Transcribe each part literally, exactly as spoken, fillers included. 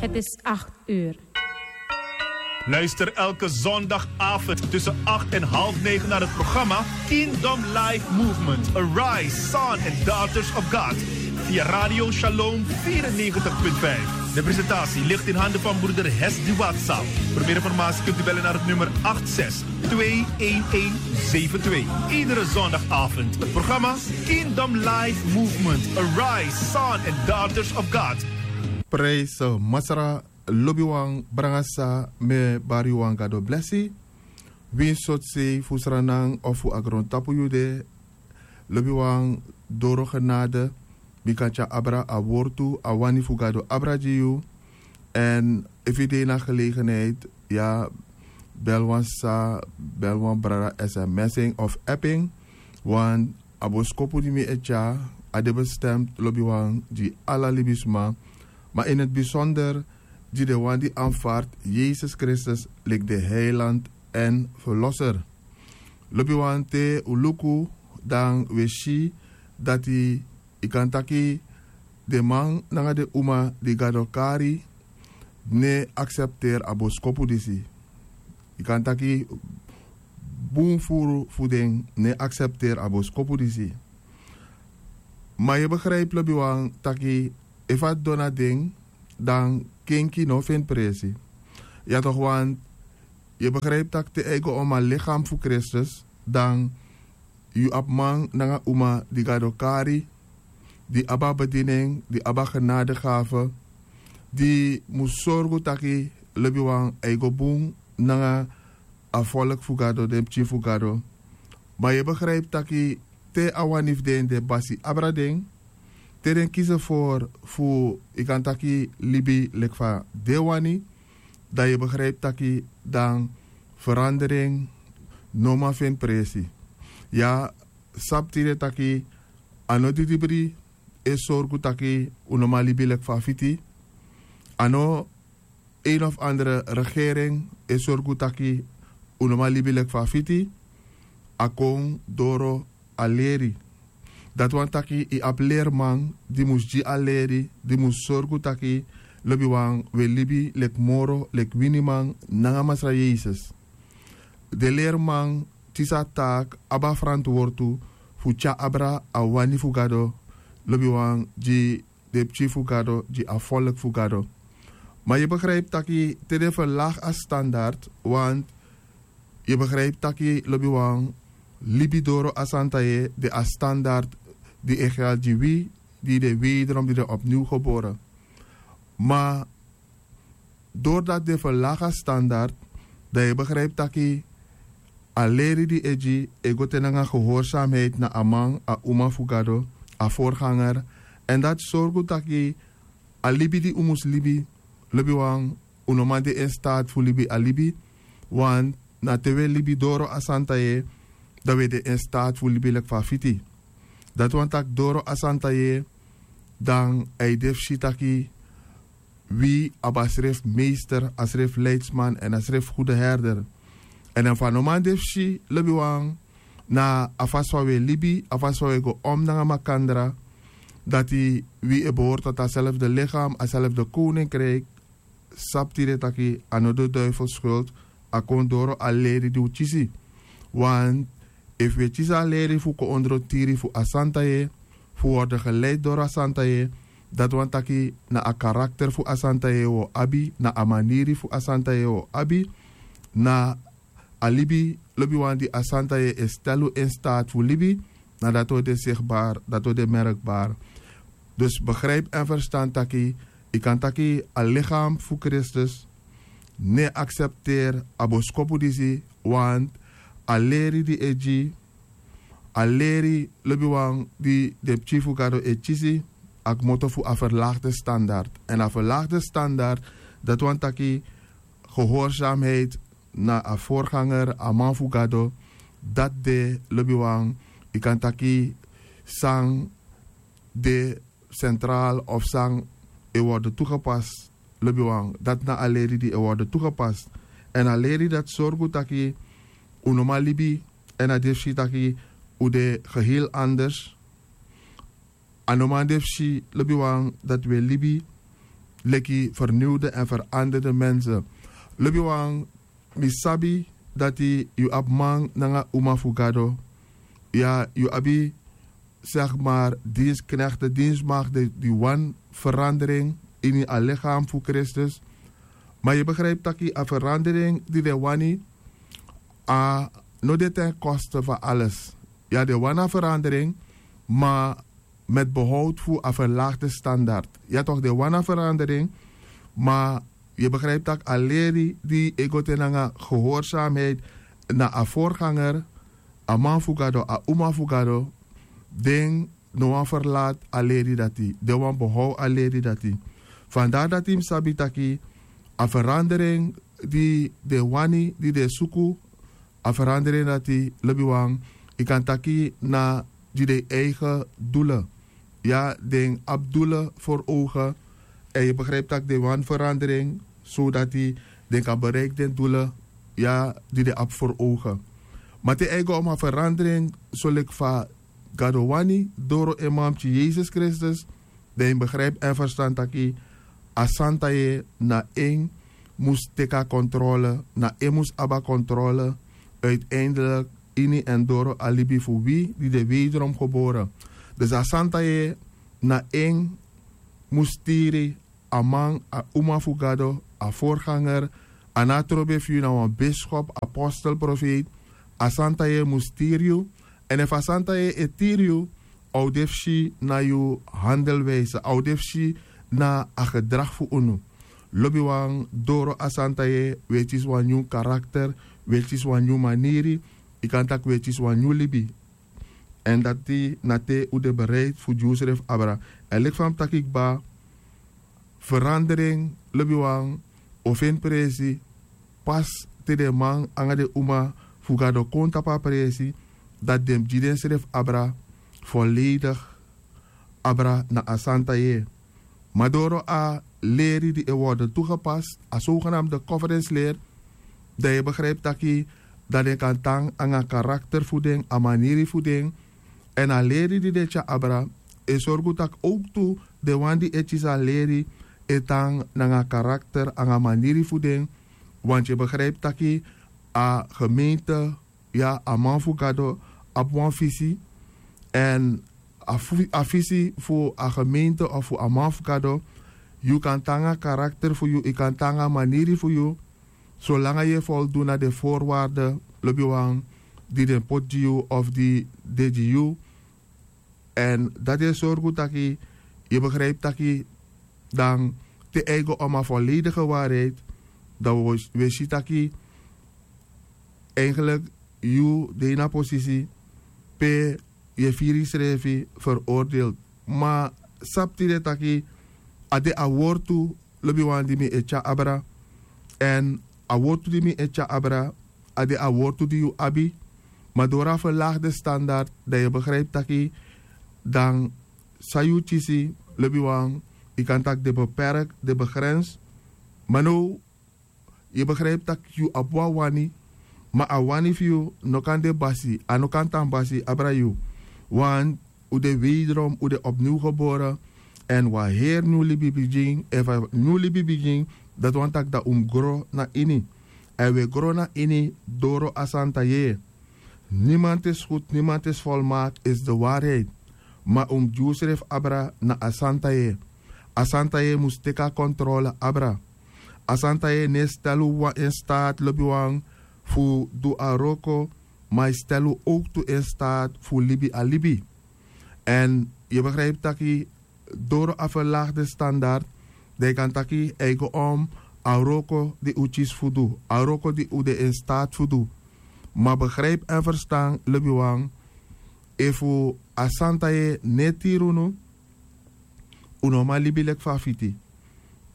Het is acht uur. Luister elke zondagavond tussen acht en half negen naar het programma Kingdom Life Movement: Arise, Son and Daughters of God via Radio Shalom vierennegentig punt vijf. De presentatie ligt in handen van broeder Hesdy Watsa. Voor meer informatie kunt u bellen naar het nummer acht zes twee een een zeven twee. Iedere zondagavond het programma Kingdom Life Movement: Arise, Son and Daughters of God. Prijs Masra. Lobiwan, brangasa, mi e bari wan Gado blesi. Winsi sortu sei fu sranan of fu a grontapu yu de, lobiwan, doro genade, bika tyari abra a wortu, a wani fu Gado abra gi yu. Èn efu yu de ini a gelegenheid, ya, bel wan sisa, bel wan brada, sms en of app en. Want a boskopu di mi e tyari, a de bestemd, lobiwan, gi ala libisma, ma in het bijzonder gi den wan di aanvaard Yesus Kristus leki den heiland èn verlosser. Lobiwan, te un luku, dan un e si dati, yu kan taki, den man nanga den uma di Gado kari no e aksepteri a boskopu disi. Yu kan taki bun furu fu den no e aksepteri a boskopu disi. Ma yu e begrijpi, lobiwan, taki efu a didon na den, dan kenki no o feni presi. Ya toch, want yu e begrijpi tak' te a e go om a lichaam fu Kristus, dan yu abi man nanga uma di Gado kari, di abi a bediening, di abi a genadegafe, di mus sorgu taki, lobiwan, a e go bun nanga a volk fu Gado, den pikin fu Gado. Ma yu e begrijpi taki te a wani fu den de basi abra den, te den kisi ervoor fu, yu kan taki, libi leki fa den wani, dan yu e begrijpi taki dan verandering no man feni presi. Ya, sabi tide taki a no didibri e sorgu taki un no man libi leki fa a fiti. A no een of andere regering e sorgu taki un no man libi leki fa a fiti. A kon doro a leri. Dati wani taki yu abi lerman di mus gi a leri, di mus sorgu taki, lobiwan, un e libi leki moro leki winiman nanga Masra Yesus. Den lerman kisi a taak, abi a ferantwortu fu tyari abra a wani fu Gado, lobiwan, gi den pikin fu Gado, gi a volk fu Gado. Ma yu e begrijpi taki te den verlaag a standard, want yu e begrijpi taki, lobiwan, libi doro a santa yeye, de a standard di e geldi gi wi, di de wederom, di de opnieuw geboren. Ma doordat den verlaag a standard, dan yu e begrijpi taki a leri di e gi e go te nanga gehoorzaamheid na a man, a uma fu Gado, a voorganger. Èn dati sorgu taki a libi di un mus libi, lobiwan, un no man de in staat fu libi a libi. Want na te un e libi doro a santa yeye, dan un e de in staat fu libi leki fa a fiti. Dati wani taki doro a santa yeye, dan a e de fu si taki wi abi a srefi meester, a srefi leidsman èn a srefi goede herder. Èn efu a no man de fu si, lobiwan, na a fasi fa un e libi, a fasi fa un e go om nanga makandra, dati wi e behoort tot a selfde lichaam, a selfde koninkrijk, sabi tide taki a no de duivel schuld, a kon doro a leri di un kisi. Want efu un e kisi a leri fu kon ondro tiri fu a santa yeye, fu worden geleid doro a santa yeye, dati wani taki na a karakter fu a santa yeye un o abi, na a maniri fu a santa yeye un o abi, na a libi, lobiwan, di a santa yeye e stel un in staat fu libi, na dati o de zichtbaar, dati o de merkbaar. Dus begrijp en verstan taki, yu kan taki a lichaam fu Kristus no e aksepteri a boskopu disi, want a leri di e gi, a leri, lobiwan, di den pikin fu Gado e kisi, a kmoto fu a verlaagde standard. Èn a verlaagde standard, dati wani taki gehoorzaamheid na a voorganger, a man fu Gado, dati de, lobiwan, yu kan taki san de centraal of san e worden toegepast, lobiwan. Dati na a leri di e worden toegepast. Èn a leri dati sorgu taki un no man libi, èn a de fu si taki un de geheel anders. A no man de fu si, lobiwan, dati un e libi leki ferniwde èn feranderde mense. Lobiwan, mi sabi dati yu abi man nanga uma fu gado. Ya, yu abi, zeg maar, diensknekte, dienstmagde di wani ferandering ini a lichaam fu Kristus. Ma yu begrijpi taki a ferandering di den wani, a no de ten koste fu alles. Ya, den wani a ferandering, ma met behoud fu a verlaagde standaard. Ya toch, den wani a ferandering, ma yu begrijpi taki a leri di e go te nanga gehoorzaamheid na a voorganger, a man fu gado, a uma fu gado, den no wani ferlati a leri dati, den wani behoud a leri dati. Vandaar dati mi sabi taki a ferandering di den wani, di den suku, a ferandering dati, lobiwan, yu kan taki na di den eigen doelen. Ya, den abi doelen voor ogen. En yu begrijpi taki den wani ferandering, zodat den kan bereiki den doelen, ya, di den abi voor ogen. Ma te eigen om a ferandering, so leki fa gado wani, doro en mamti Yesus Kristus, dan yu begrijpi en ferstan taki a santa yeye na en mus teki a kontrole, na en mus abi a kontrole, uiteindelijk ini en doro a libi fu wi di de wederom gebore. Dus a santa yeye na en mus tiri a man, a uma fu gado, a voorganger, a na trobe fu yu na wan biskop, apostel, profeet. A santa yeye mus tiri yu. En efu a santa yeye e tiri yu, a o de fu si na yu handelwijze, a o de fu si na a gedrag fu unu. Lobiwan, doro a santa yeye wi e kisi wan nyun karakter, wi e kisi wan nyun maniri, yu kan taki wi e kisi wan nyun libi. En dati na te un de bereid fu gi unsrefi abra. En leki fa mi taki kba, ferandering, lobiwan, o feni presi pas te den man anga den uma fu gado kon tapu a presi, dati den mus gi densrefi abra, volledig abra na a santa yeye. Ma doro a leri di e worden toegepast, a zogenaamde conference leer, dan yu e begrijpi taki dan den kan tan anga a karakter fu den, a maniri fu den. En a leri di den e tyari abra e sorgu taki ook tu den wan di e kisi a leri e tan nanga a karakter anga a maniri fu den. Want yu e begrijpi taki a gemeente, ya, a man fu gado abi wan visi. En a fu- a visi fu a gemeente of fu a man fu gado, yu kan tan nanga a karakter fu yu, yu kan tan nanga a maniri fu yu, solanga yu e voldoen na den voorwaarden, lobiwan, di den poti gi yu of di de gi yu. En dati e sorgu taki yu e begrijpi taki dan te eigen om a volledige waarheid, dan wi o- wi e si taki eigenlijk yu de ini a posisi pe yu e firi yusrefi veroordeeld. Ma sabi tide taki a de a wortu, lobiwan, di mi e tyari abra. En a wortu di mi e tyari abra, a de a wortu di yu abi. Ma doro a verlaagde standaard, dan yu e begrijpi taki dan san yu kisi, lobiwan, yu kan taki de beperk, de begrens. Ma now yu e begrijpi taki yu abi wan wani, ma a wani fu yu no kan de basi, a no kan tan basi abra yu. Want un de wederom, un de opnieuw gebore. En wan heri nyun libi bigin. Efu a nyun libi bigin, dati wani taki dan un mus gro na ini. En wi e gro na ini doro a santa yeye. Niemand is goed, niemand is volmaakt, is de waarheid. Ma un mus gi unsrefi abra na a santa yeye. A santa yeye mus teki a kontrole abra. A santa yeye no e stel un in staat, lobiwan, fu du a wroko, ma a e stel un ook tu in staat fu libi a libi. En yu e begrijpi taki doro a verlaagde standaard, dan yu kan taki eigen om a wroko di un kisi fu du, a wroko di un de in staat fu du. Ma begrijpi en ferstan, lobiwan, efu a santa yeye no e tiri unu, un no man libi leki fa a fiti.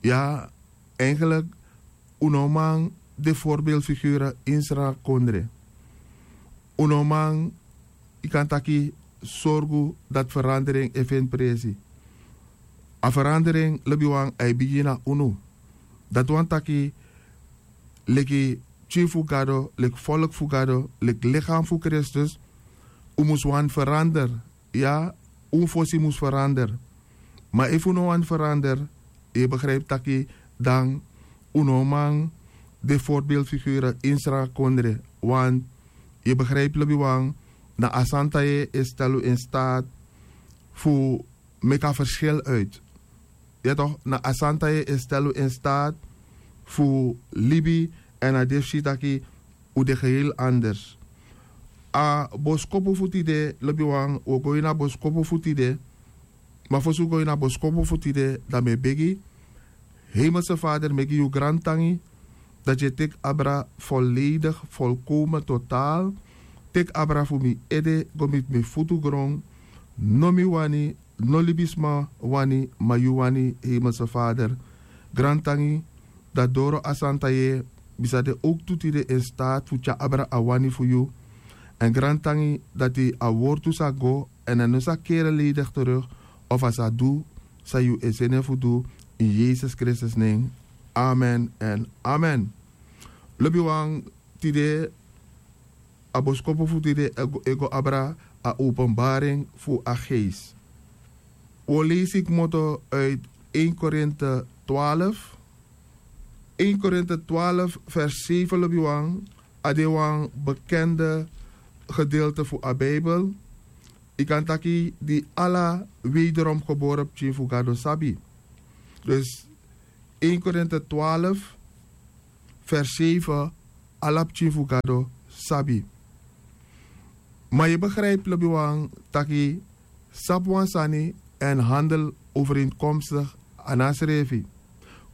Ya, eigenlijk, un no man de voorbeeldfigure ini srakondre. Un no man, yu kan taki, sorgu dati ferandering e feni presi. A ferandering, lobiwan, a e bigin na unu. Dati wani taki leki pikin fu Gado, leki volk fu Gado, leki lichaam fu Kristus, un mus wani ferander. Ya, un fosi mus ferander. Ma efu un no wani ferander, yu e begrijpi taki dan un no man de voorbeeldfigure ini sranga kondre. Want yu e begrijpi lobiwan, na a santa yeye e stel un in staat fu meki a verschil uit. Ya toch, na a santa yeye e stel un in staat fu libi. Èn a de fu si taki un de geheel anders. A boskopu fu tide lobiwan, un o go ini a boskopu fu tide. Ma fosi un go ini a boskopu fu tide, dan mi e begi, hemelse vader, mi e gi yu grantangi dati yu e teki abra volledig, volkomen, totaal. Teki abra fu mi ede go miti mi futu gron. No mi wani, no libisma wani, ma yu wani, hemelse vader. Grantangi dati doro a santa yeye mi sa de owktu tide in staat fu tyari abra a wani fu yu. Èn grantangi dati a wortu sa go èn a no sa kere ledigi teruk, of a sa du san yu e seni en fu du. Ini yesus kristus nen. Amen èn amen. Lobiwan, tide a boskopu fu tide e go- e go abra a openbaring fu a geest. Wi o leisi kmoto uit één Korinte twaalf. Één Korinte twaalf vers zeven, lobiwan, a de wan bekende gedeelte fu a Bijbel. Yu kan taki di ala wederom geboren pikin fu Gado sabi. Dus één Korinte twaalf vers zeven, ala pikin fu Gado sabi. Ma yu e begrijpi, lobiwan, taki sabi wan sani èn handel overeenkomstig a na srefi.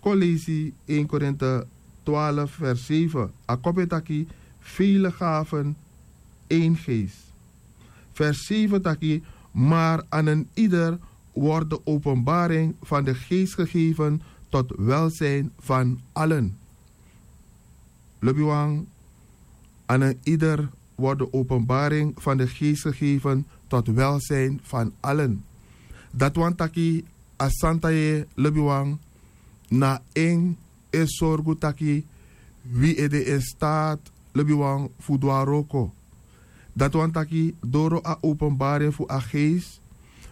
Kon leisi één Korinte twaalf vers zeven. A kopu e taki: vele gaven, één geest. Vers zeven taki: maar aan een ieder wordt de openbaring van de geest gegeven tot welzijn van allen. Lobiwan, aan een ieder wordt de openbaring van de geest gegeven tot welzijn van allen. Dati wani taki a santa yeye, lobiwan, na en e sorgu taki wi e de in staat, lobiwan, fu du a wroko. Dati wani taki doro a openbaring fu a geest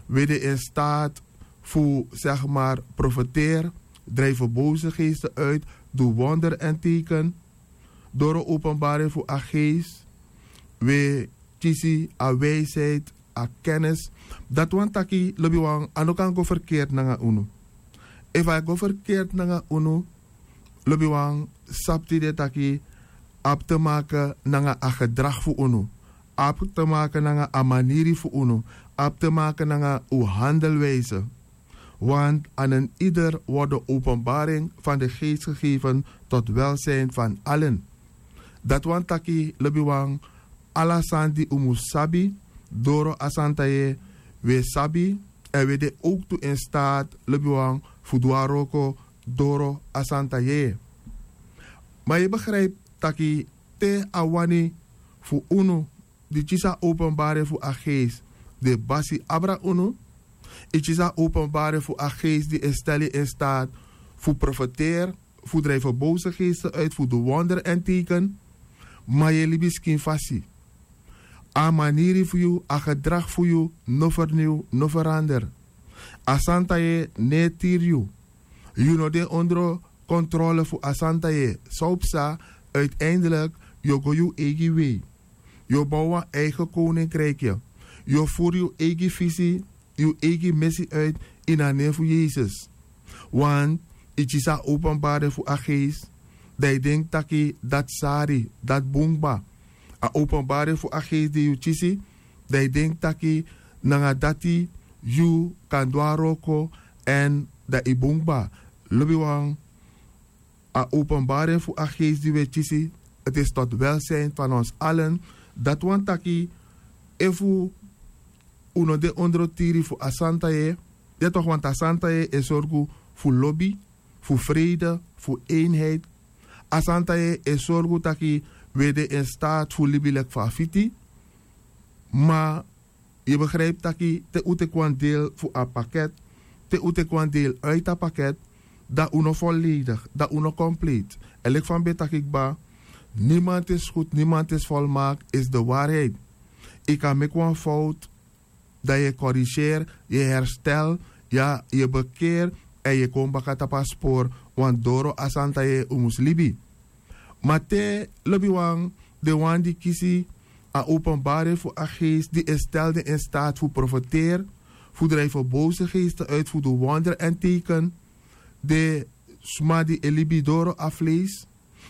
wi e de in staat fu, zeg maar, profeteer, drijven boze geesten uit, du wonder èn teken. Doro openbaring fu a geest wi e kisi a wijsheid, a kennis. Dati wani taki, lobiwan, a no kan go verkeerd nanga unu. Efu a e go verkeerd nanga unu, lobiwan, sabi tide taki a abi te maken nanga a gedrag fu unu, a abi te maken nanga a maniri fu unu, a abi te maken nanga un handelwijze. Want aan een ieder wordt de openbaring van de geest gegeven tot welzijn van allen. Dati wani taki, lobiwan, ala sani di un mus sabi doro a santa yeye, wi e sabi, èn wi e de owktu in staat, lobiwan, fu du a wroko doro a santa yeye. Ma yu e begrijpi taki te a wani fu unu di kisi a openbaring fu a geest, di e basi abra unu, yu kisi a openbaring fu a geest di e stel yu in staat fu profeteer, fu drijven boze geesten uit, fu du wonder èn teken, ma yu e libi skin fasi. A maniri fu yu, a gedrag fu yu no vernieuw, no verander. A santa yeye no e tiri yu. Yu no de ondro controle fu a santa yeye. San o psa? Uiteindelijk yu o go yu eigi wei. Yu o bow wan eigen koninkrikje. Yu o furu yu eigi visi, yu eigi mesi uit, ini a nen fu Yesus. Want yu kisi a openbaring fu a geest, dan yu denki taki dati sari, dati bun kba. A openbaring fu a geest di yu kisi, dan yu denki taki nanga dati yu kan du a wroko èn dan yu bun kba. Lobiwan, a openbaring fu a geest di wi e kisi, het is tot welzijn van ons allen. Dati wani taki efu un no de ondro tiri fu a santa yeye, ya toch, want a santa yeye e sorgu fu lobi, fu vrede, fu eenheid. A santa yeye e sorgu taki wi e de in staat fu libi leki fa a fiti. Ma yu e begrijpi taki te un teki wan deel fu a paket, te un teki wan deel uit a paket, dan un no volledig, dan un no compleet. Èn leki fa mi ben taki kba, niemand is goed, niemand is volmaakt, is de waarheid. Yu kan meki wan fout, dan yu e corrigeer, yu e herstel, ya, yu e bekeer, èn yu e kon baka tapu a spori. Wan doro a santa yeye un mus libi. Ma te lobiwan, den wan di kisi a openbarheid fu a geest di e stel den in staat fu profeteri, fu drijfen bose geesten uit, fu du wondre èn teken, den sma di e libi doro a fleisi,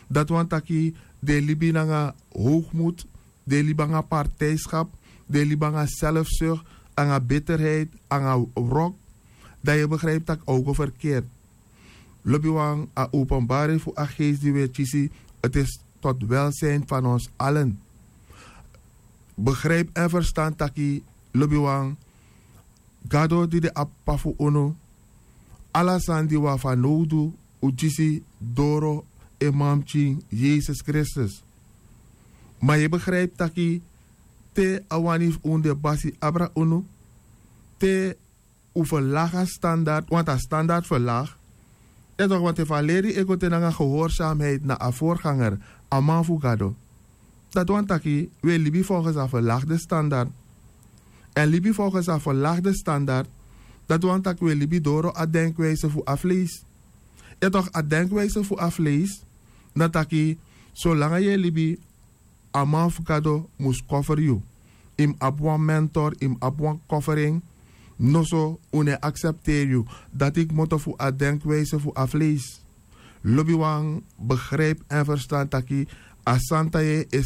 dati wani taki den e libi nanga howgmut, den e libi nanga partijskap, den e libi nanga selfsukti, nanga biterheid, nanga wrok, dan yu e begrijpi tak' a o go ferkert. Lobiwan, a openbarheid fu a geest di wi e kisi, ti is tot welzijn fan ons alen. Begrijpi èn ferstan taki, lobiwan, gado di de a p'pa fu unu, ala sani di wi abi fanowdu, un kisi doro en manpikin yesus kristus. Ma yu e begrijpi taki, te a wani fu unu de basi abra unu, te un ferlagi a standard, wantu a standard ferlagi. Yu e toki wantu efu a leri e go te nanga gehorsamiheid na a vorganger, a man fu gado, dati wani taki wi e libi folgens a ferlagde standard. Èn libi folgens a ferlagde standard, dati wani taki wi e libi doro a denkwijse fu a fleisi. Yu e toki a denkwijse fu a fleisi, na taki, solanga yu e libi, a man fu gado mus koferi yu. Yu mus abi wan mentor, yu mus abi wan koferi en. Noso un no e aksepteri yu. Dati kmoto fu a denkwijse fu a fleisi. Lobiwan, begrijpi èn ferstan taki, a santa yeye e